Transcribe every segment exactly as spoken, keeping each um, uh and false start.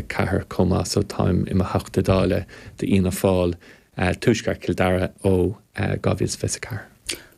ceathair chomh maith so táim i mo Theachta Dála d'Fhianna Fáil Tuaisceart Chill Dara ó dhá mhíle is fiche ceathair.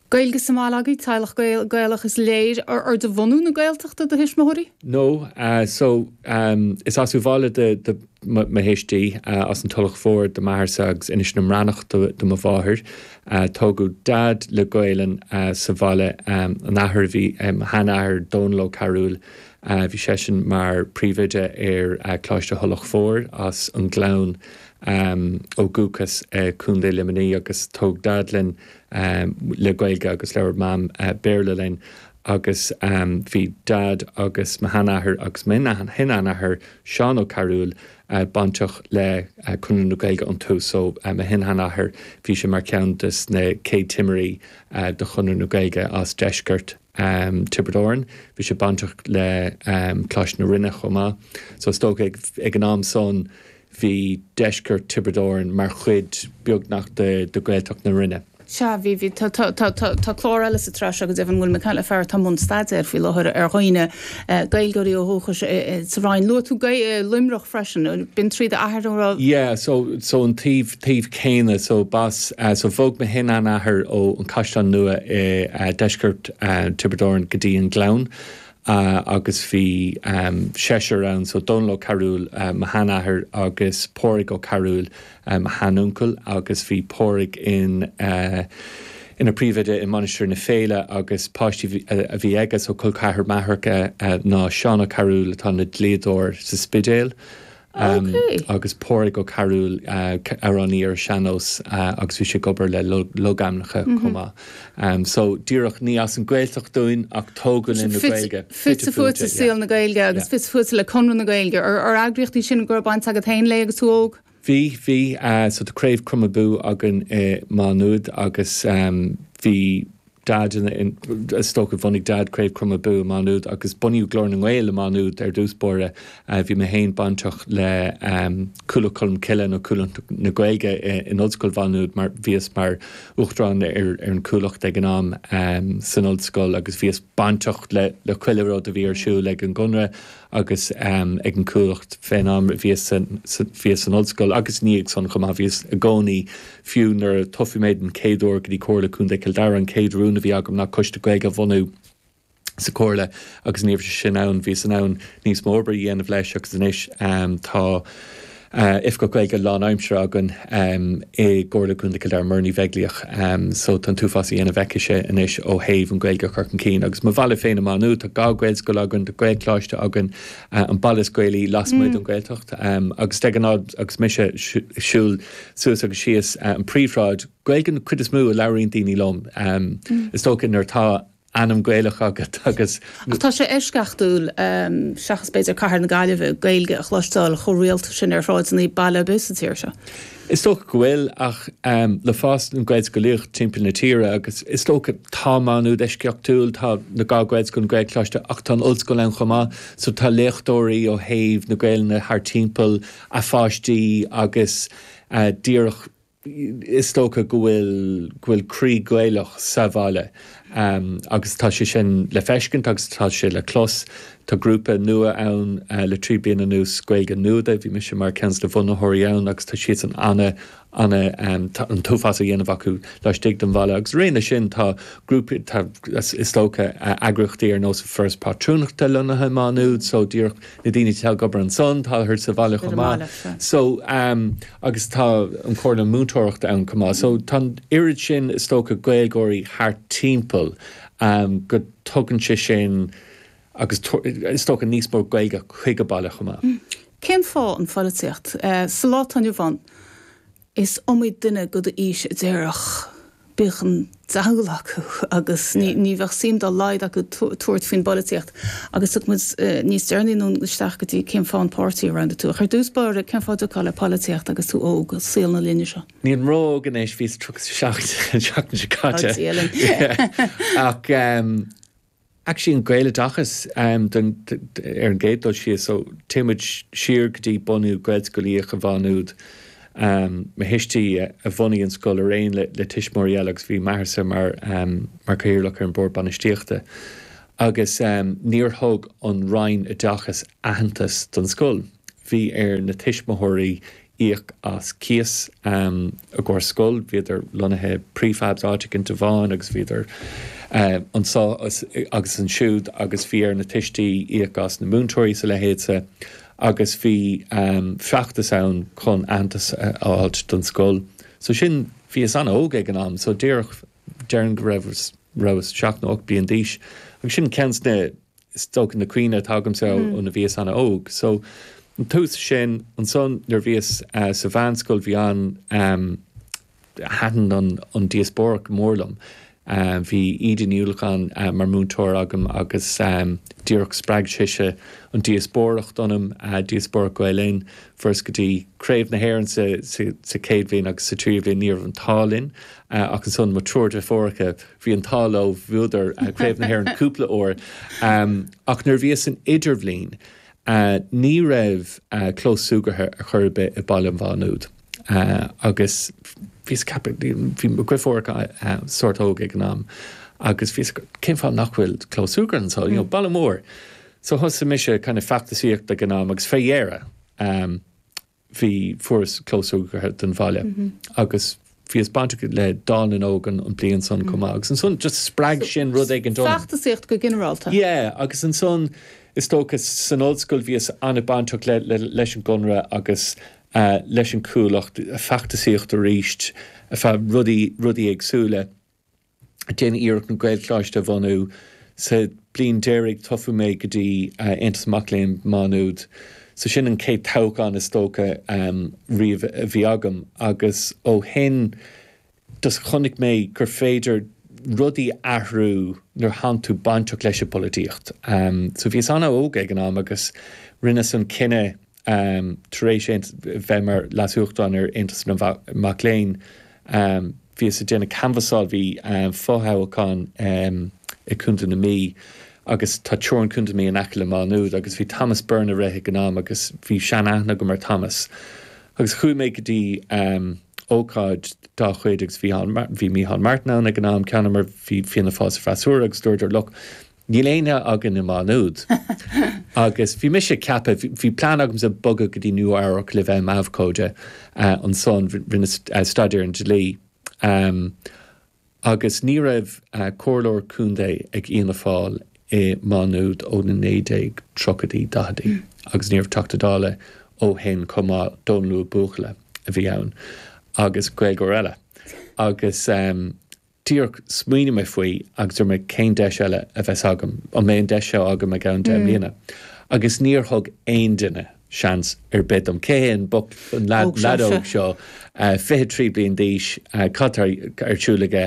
Gaeilge sa mbaile agaibh teaghlach Gaelach is léir ar de bhunadh na Gaeltachta do thuismitheoirí? No, uh, so um, is as Uíbh Fhailí de, de mo thuistí uh, as an Tulach Mhór do m'athairse agus Inis na mBreathnach do, do mo mháthair. Uh, tógadh Dad le Gaelainn uh, sa bhaile um, an athair bhí um, sheanathair Dónal Ó Cearúil. Uh, bhí seisean mar príomhoide ar uh, Coláiste Thulach Mhór as an Gleann um, ó dhúchas uh, Contae Luimnigh agus tógadh Dad linn um, le Gaeilge agus labhair Mam uh, Béarla linn agus um, bhí Dad agus mo sheanathair agus mo shin-sheanathair Seán Ó Cearúil uh, bainteach le uh, Conradh na Gaeilge an tú so uh, mo shin-sheanathair bhí sé mar cheann de na céad timirí uh, de Chonradh na Gaeilge as deisceart um, Tiobraid Árann, bhí sé bainteach le um, Coláiste na Rinne chomh maith. So is dócha ag, ag an am san bhí deisceart Tiobraid Árann mar chuid beagnach de, de Gaeltacht na Rinne. Sea bhí bhí tá clár eile sa tsraith agus an bhfuil me le fear tá mun staidéar faoi láthair ar dhaoine Gaeilgeoirí ó dhúchas sa Rinn luaigh tú Luimneach freisin b'in trí d'athair rá. Yeah, so so an taobh taobh céanna so bas uh, so bhog mo shin-seanathair ó an Caisleán Nua i uh, deisceart uh, Tiobraid Árann go dtí an Gleann. Uh, agus bhí um, seisear ann so Dónal Ó Cearúil uh, mo sheanathair agus Pádraig Ó Cearúil um, mo sheanuncail agus bhí Pádraig in uh, ina phríomhoide i Mainistir na Féile agus páistí a bhí aige so col ceathar mathartha uh, ná Seán Ó Cearúil atá ina dhlíodóir sa Spidéal. Um, okay. agus Pádraig Ó Cearúil uh, amhránaí ar sean-nós uh, agus bhí sé ag obair le logainmneacha mm -hmm. chomh maith. Um, so díreach ní as an Ghaeltacht dúinn ach tógadh linn le Gaeilge. Fite fuaite saol na Gaeilge agus fite fuaite le Conradh na Gaeilge ar ar eagraíochtaí sin go raibh baint agat féin léi agus tú óg? Bhí bhí uh, so tá Craobh Chrom Abú againn i Má Nuad agus um, bhí Dad is dócha bhunaigh Dad Craobh Chrom Abú i Má Nuad agus bunaíodh Glór na nGael i Má Nuad ar dtús báire uh, bhí mé féin bainteach le um, Cuallacht Cholm Cille nó Cuallacht na Gaeilge in Ollscoil Mhá Nuad mar bhíos mar uachtarán ar, ar an Cuallacht ag an am um, san ollscoil agus bhíos bainteach le le chuile rud a bhí ar siúl ag an gConradh agus um, ag an Cuallacht fén am bhíos san, san ollscoil agus ní ag san chomh maith bhíos i gcónaí fiú nuair a toghadh mé an chéad uair go dtí Comhairle Contae Chill Dara an chéad rún a bhí agam ná coiste Gaeilge a bhunú sa chomhairle agus ní raibh sin ann bhí san ann níos mó obair a dhéanamh leis agus anois um, tá uh, Oifigeach Gaeilge lánaimseartha againn um, i gComhairle Contae Chill Dara Muireann Ní Bheaglaoich um, so tá an t-uafás á dhéanamh aici anois ó thaobh an Ghaeilge chur chun cinn agus mo bhaile féin Má Nuad tá dhá Ghaelscoil againn tá Gaelcholáiste againn uh, an baile is Gaelaí lasmuigh mm. den Ghaeltacht um, agus de ghnáth agus mise siúl suas agus síos uh, an príomhshráid Gaeilge an chuid is mó a labhraíonn daoine liom um, mm. is dócha nuair atá ainm Gaelach agat agus Ach tá sé eisceachtúil um, seachas b'fhéidir cathair na Gaillimhe Gaeilge a chloisteáil chomh rialta sin ar shráideanna baile bus sa tír seo. Is dócha go bhfuil ach um, le fás an Ghaelscolaíocht timpeall na tíre agus is dócha tá Má Nuad eisceachtúil tá na dhá Ghaelscoil Gaelcholáiste ach tá an ollscoil ann chomh maith, so tá léachtóirí ó thaobh na Gaeilge thar timpeall a pháistí agus uh, díreach is dócha go bhfuil go bhfuil croí Gaelach sa bhaile. Um, agus tá sé sin le feiscint agus tá sé le clos Tá grúpa nua ann uh, le trí bliana anuas Gaeilge Nuada, bhí mise mar cheann de na bunaitheoirí ann agus tá siad an ana ana um, an t-uafás á dhéanamh acu laistigh den bhaile agus réna sin tá grúpa tá is dócha uh, eagraíochtaí ar nós Foras Pátrúnachta lonnaithe Má Nuad, so díreach na daoine atá ag obair ansan tá thar sa bhaile chomh maith. So um, agus tá an Chomhairle Múinteoireachta ann chomh maith. So tá oiread sin is dócha Gaeilgeoirí thar timpeall um, go dtugann sé sin agus is dócha níos mó Gaeilge chuig an baile chomh maith. Mm. Cén fáth an pholaitíocht uh, sa lá atá inniu ann is iomaí duine go d'aois a déarfadh bíodh an diabhal acu agus ní ní bheadh suim dá laghad acu tabhairt faoin bpolaitíocht agus thug muid uh, níos deireanaí nó isteach go dtí cén fáth an páirtí a roghnaigh tú. Ar dtús báire cén fáth dul le polaitíocht agus tú óg saol na linne seo. Níl mé ró-óg anois bhí seacht seachtain seo caite. Ach um, Actually an Gaeloideachas um, ar an gcéad dul síos so téimid siar go dtí bunú Gaelscolaíocht Mhá Nuad. Um, mo thuistí a bhunaigh an scoil ar aon le, le tuismitheoirí eile agus bhí m'athairse mar, um, mar chathaoirleach ar an bord bainistíochta. Agus um, níor thug an Roinn Oideachais aitheantas don scoil. bhí ar na tuismitheoirí íoc as cíos um, i gcomhair scoil, bhíodar lonnaithe prefabs áit éicint amháin agus bhíodar uh, anseo agus ansiúd agus bhí ar na tuistí íoc as na múinteoirí sa leithéidse agus bhí um, feachtas ann chun aitheantas a fháilt don scoil. So sin bhíos an-óg ag an am, so díreach déarfainn go raibh rabhas seacht nó ocht bliain d'aois. Agus sin ceann de na is dócha na cuimhní atá agamsa mm. ó nuair a bhíos an-óg. So an tús sin ansan nuair bhíos uh, sa mheánscoil bhí an um, thaitin an, an díospóireacht mór liom. Um, bhí Íde Ní Uallacháin uh, mar múinteoir agam agus um, díreach spreag sise an díospóireacht ionam uh, díospóireacht Gael Linn fuaireas go dtí Craobh na hÉireann sa, sa, sa chéad bhliain agus sa tríú bliain ní raibh an t-ádh linn uh, ach ansan mo triúr deartháireacha bhí an t-ádh leo bhuadar uh, Craobh na hÉireann cúpla uair um, ach nuair bhíos san idirbhliain uh, ní raibh uh, clós súgartha ar chor ar bith i baile Mhá Nuad. Uh, agus bhíos bhí mo dheartháireacha uh, sórt óg ag an am agus bhí cén fáth nach bhfuil clós súgartha anseo mm. you know, baile mór. So thosaigh mise kind of feachtasaíocht ag an am agus fé dheireadh um, bhí fuaireas clós súgartha don bhaile mm -hmm. agus bhíos bainteach le Dáil na nÓg an an bliain san mm. chomh agus ansan just spreag sin rud ag an dom. Feachtasaíocht go ginearálta. Yeah, agus ansan is dócha san ollscoil bhíos an-bhainteach le, le, leis an gConradh agus uh, leis an Chuallacht feachtasaíocht arís fá rudaí rudaí éagsúla. Déanamh iarracht an Gaelcholáiste a bhunú sa bliain deiridh toghadh mé go dtí uh, Aontas Mac Léinn Má Nuad. So sin an chéad toghchán is dócha um, riamh a bhí agam agus ó shin just chonaic mé gur féidir rudaí athrú nuair atánn tú bainteach leis an bpolaitíocht. Um, so bhíos an-óg ag an am agus rinneas an cinneadh um, tar éis bheith mar leasuachtarán ar Aontas na Mac Léinn um, bhíos ag déanamh canbhasáil bhí um, fothoghchán um, i Contae na Mí agus tá teorainn Chontae na Mí in aice le Má Nuad agus bhí Thomas Byrne ag rith ag an am agus bhí sean-aithne agam ar Thomas. Agus chuaigh mé go dtí um, ócáid dá chuid agus bhí bhí Micheál Martin ann ag an am ceann mar bhí Fianna Fáil sa bhfreasúra agus dúradar look Níl éinne againn i Má Nuad. agus bhí mise ceaptha bhí plean agamsa bogadh go dtí Nua-Eabhrac le bheith abhcóide uh, ansan rinne uh, staidéar an dlí. Um, agus ní raibh uh, comhairleoir contae ag Fhianna Fáil i Má Nuad ó na naoi déag tríochaidí daicheadaí mm. agus ní raibh Teachta Dála ó shin chomh maith Dónal Ua Buachalla a bhí ann agus Gaeilgeoir eile. Agus um, díreach smaoinigh mé faoi agus dúirt mé cén deis eile a bheas agam an mbeidh an deis seo agam i gceann deich mm. mbliana. Agus níor thug aon duine seans ar bith dom cé an boc an leaid óg seo fiche trí bliain d'aois cad tá ar siúl aige.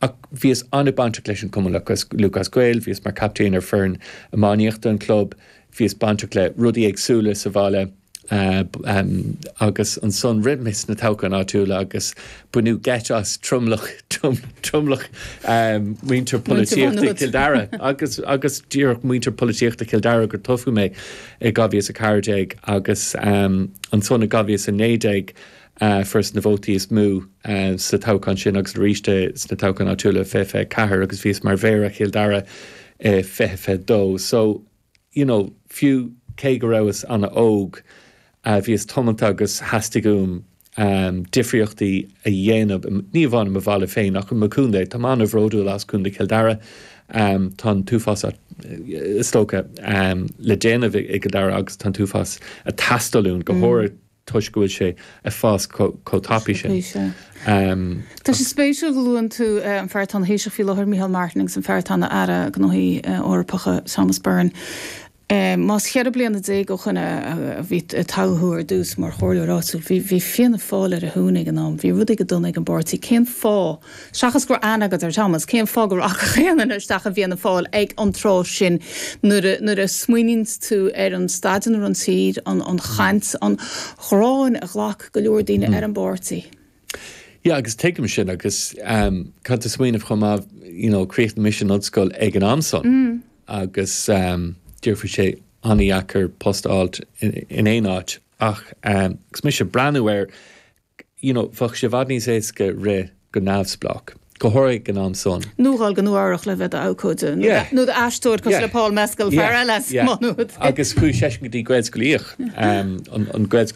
Ach bhíos an-bhainteach leis an Cumann Lúthchleas Gael, bhíos mar captaen ar foireann iománaíochta an club, bhíos bainteach le rudaí éagsúla sa bhaile. Uh, um, agus ansan rith mé sna toghcháin áitiúla agus baineadh geit as tromlach tromlach um, muintir polaitíochta Chill Dara agus agus díreach muintir polaitíochta Chill Dara gur toghadh mé i dhá mhíle is a ceathair déag agus um, ansan i dhá mhíle is a naoi déag uh, fuaireas na vótaí is mó uh, sa toghchán sin agus arís sna toghcháin áitiúla fiche fiche ceathair agus bhíos mar mhéara Chill Dara uh, fiche fiche dó. So you know, fiú cé go rabhas an-óg, uh, bhíos tiomanta agus theastaigh uaim um, difríochtaí a dhéanamh ní amháin mo bhaile féin ach mo chontae Tá an-bhródúil as Contae Chill Dara um, tá an t-uafás is dócha um, le déanamh i gCill Dara agus tá an t-uafás ag teastáil uainn go mm. háirithe toisc go bhfuil sé ag fás chomh tapaidh sin. Um, Tá sé spéisiúil go luann tú uh, an fear atá ina Thaoiseach faoi láthair Micheál Martin agus an fear atá ina Aire Gnóthaí uh, Eorpacha Thomas Byrne. Más ceithre bliana déag ó shin a bhí toghadh thú ar dtús mar chomhairleoir áitiúil, bhí bhí Fianna Fáil ar a shuan ag an am, bhí rudaí go dona ag an bpáirtí. Cén fáth seachas go raibh aithne agat ar Thomas, cén fáth go rachadh aon duine isteach i bhFianna Fáil ag an tráth sin nuair nuair a smaoiníonn tú ar an staid ina raibh an tír, an an chaint, an ghráin a ghlac go leor daoine ar an bpáirtí. Yeah, agus tuigim sin agus um, caithfidh tú smaoineamh chomh maith you know, chríochnaigh mise an ollscoil ag an am san mm. agus um, bhí sé an-deacair post a fháilt in, in aon áit ach um, agus mise ag breathnú air you know, bheadh sé i bhfad níos éasca rith go neamhspleách Go háirithe ag an am san. Nó dul go Nua-Eabhrac le bheith abhcóide nó aisteoir cosúil le Paul Mescal fear eile Má Nuad. Agus chuaigh seisean go dtí Gaelscolaíocht an Gaelscoil